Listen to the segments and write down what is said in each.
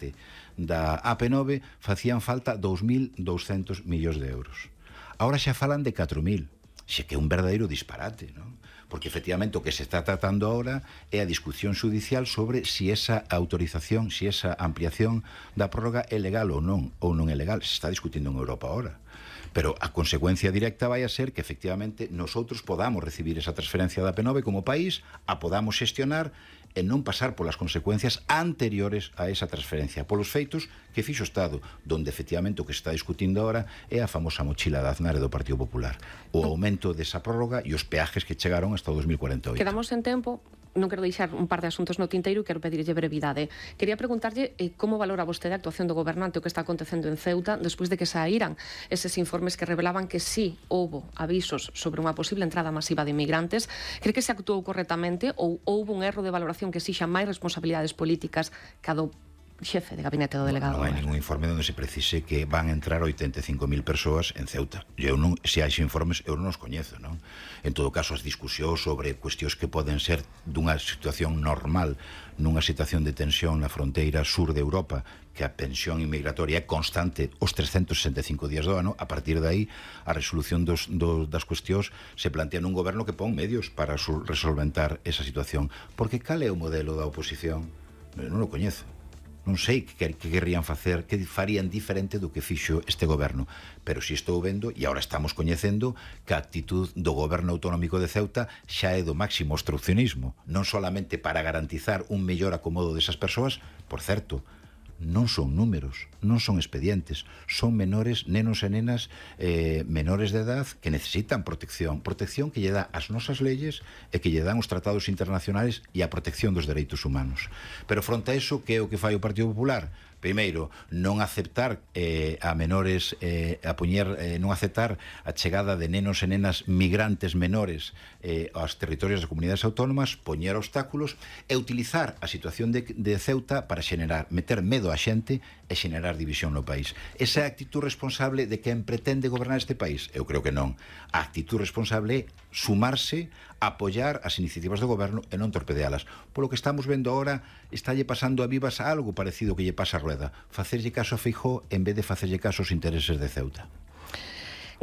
rescate da AP9 facían falta 2.200 millóns de euros. Ahora xa falan de 4.000. Xe que é un verdadeiro disparate, non? Porque efectivamente o que se está tratando ahora é a discusión judicial sobre si esa autorización, si esa ampliación da prórroga é legal ou non é legal. Se está discutindo en Europa ahora. Pero a consecuencia directa vai a ser que efectivamente nosotros podamos recibir esa transferencia da AP9 como país, a podamos xestionar e non pasar polas consecuencias anteriores a esa transferencia, polos feitos que fixo o Estado, donde efectivamente o que se está discutindo ahora é a famosa mochila de Aznar e do Partido Popular, o aumento desa prórroga e os peajes que chegaron hasta o 2048. Quedamos en tempo. Non quero deixar un par de asuntos no tinteiro e quero pedirlle brevidade. Quería preguntarlle como valora vostede a actuación do gobernante o que está acontecendo en Ceuta despois de que saíran eses informes que revelaban que sí houbo avisos sobre unha posible entrada masiva de inmigrantes. Cree que se actuou correctamente ou houbo un erro de valoración que exixa máis responsabilidades políticas que a do xefe de gabinete do delegado? Non hai ningún informe onde se precise que van a entrar 85.000 persoas en Ceuta. Se hai informes, eu non os coñezo, non? En todo caso, as discusións sobre cuestións que poden ser dunha situación normal, nunha situación de tensión na fronteira sur de Europa, que a tensión inmigratoria é constante os 365 días do ano, a partir de aí a resolución das cuestións se plantea nun goberno que pon medios para resolventar esa situación. Porque cal é o modelo da oposición? Non o coñezo. Non sei que querrían facer, que farían diferente do que fixo este goberno, pero si estou vendo, e agora estamos coñecendo, que a actitud do goberno autonómico de Ceuta xa é do máximo obstruccionismo, non solamente para garantizar un mellor acomodo desas persoas, por certo, non son números, non son expedientes, son menores, nenos e nenas menores de edad que necesitan protección que lle dá as nosas leyes e que lle dan os tratados internacionales e a protección dos dereitos humanos. Pero fronte a eso, que é o que fai o Partido Popular? Primeiro, non aceptar a menores, non aceptar a chegada de nenos e nenas migrantes menores aos territorios das comunidades autónomas, poñer obstáculos e utilizar a situación de Ceuta para meter medo a xente e xenerar división no país. Esa é a actitud responsable de quen pretende gobernar este país? Eu creo que non. A actitud responsable é sumarse, apoiar as iniciativas do goberno e non torpedealas. Polo que estamos vendo agora, estálle pasando a Vivas algo parecido que lle pasa a Rueda. Facerlle caso a Feijóo en vez de facerlle caso aos intereses de Ceuta.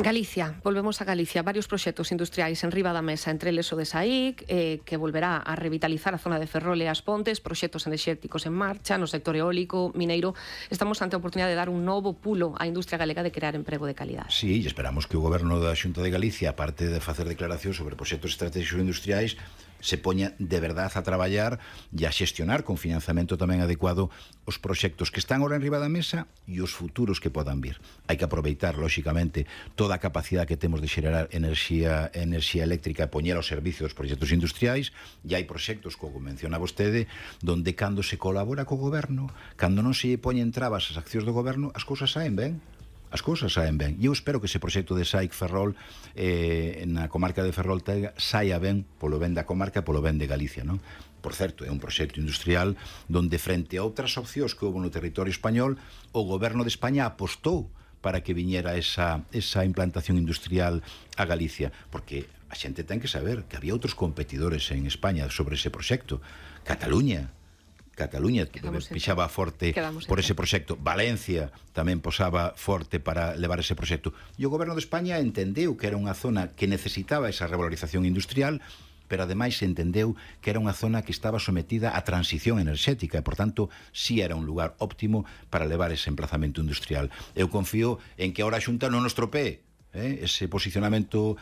Galicia, volvemos a Galicia. Varios proxectos industriais en riba da mesa, entre eles o de SAIC, que volverá a revitalizar a zona de Ferrol e as Pontes, proxectos enerxéticos en marcha, no sector eólico, mineiro. Estamos ante a oportunidade de dar un novo pulo á industria galega de crear emprego de calidade. Sí, e esperamos que o goberno da Xunta de Galicia, aparte de facer declaracións sobre proxectos estratégicos industriais, se poña de verdade a traballar e a xestionar con financiamento tamén adecuado os proxectos que están ahora en riba da mesa e os futuros que podan vir. Hai que aproveitar, lóxicamente, toda a capacidade que temos de xerar enerxía eléctrica e poñer ao servicio dos proxectos industriais, e hai proxectos, como menciona vostede, donde cando se colabora co goberno, cando non se poñen trabas as accións do goberno, as cousas saen ben. As cousas saen ben. E eu espero que ese proxecto de SAIC Ferrol na comarca de Ferrol saia ben polo ben da comarca e polo ben de Galicia, non? Por certo, é un proxecto industrial donde, frente a outras opcións que houve no territorio español, o goberno de España apostou para que viñera esa implantación industrial a Galicia, porque a xente ten que saber que había outros competidores en España sobre ese proxecto. Cataluña pixaba forte por ese proxecto. Valencia tamén posaba forte para levar ese proxecto. E o goberno de España entendeu que era unha zona que necesitaba esa revalorización industrial, pero ademais entendeu que era unha zona que estaba sometida a transición enerxética e, por tanto, sí era un lugar óptimo para levar ese emplazamento industrial. Eu confío en que ahora a Xunta non nos tropee ese posicionamento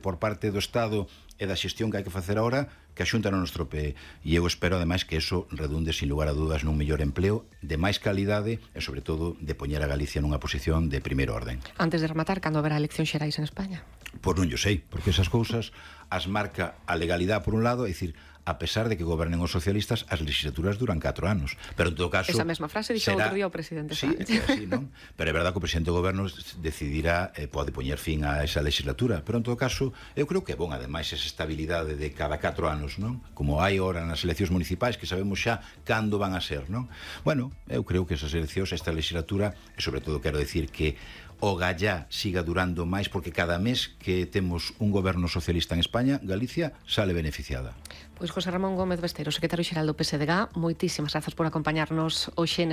por parte do Estado e da xestión que hai que facer agora, que a Xunta non nos tropee. E eu espero, ademais, que eso redunde, sin lugar a dudas, nun mellor empleo, de máis calidade e, sobre todo, de poñer a Galicia nunha posición de primeiro orden. Antes de rematar, cando haberá eleccións xerais en España? Pois non yo sei, porque esas cousas as marca a legalidade por un lado, é dicir, a pesar de que gobernen os socialistas, as legislaturas duran 4 anos. Pero en todo caso... Esa mesma frase dixo outro día o presidente Sánchez. Sí, así, non? Pero é verdade que o presidente do goberno decidirá, pode poñer fin a esa legislatura. Pero en todo caso, eu creo que é bon, ademais, esa estabilidade de cada 4 anos, non? Como hai ora nas eleccións municipais, que sabemos xa cando van a ser, non? Bueno, eu creo que esas eleccións, esta legislatura, e sobre todo quero decir que o gallá siga durando máis, porque cada mes que temos un goberno socialista en España, Galicia sale beneficiada. Pois José Ramón Gómez Besteiro, secretario xeral do PSDG, moitísimas grazas por acompañarnos hoxe neste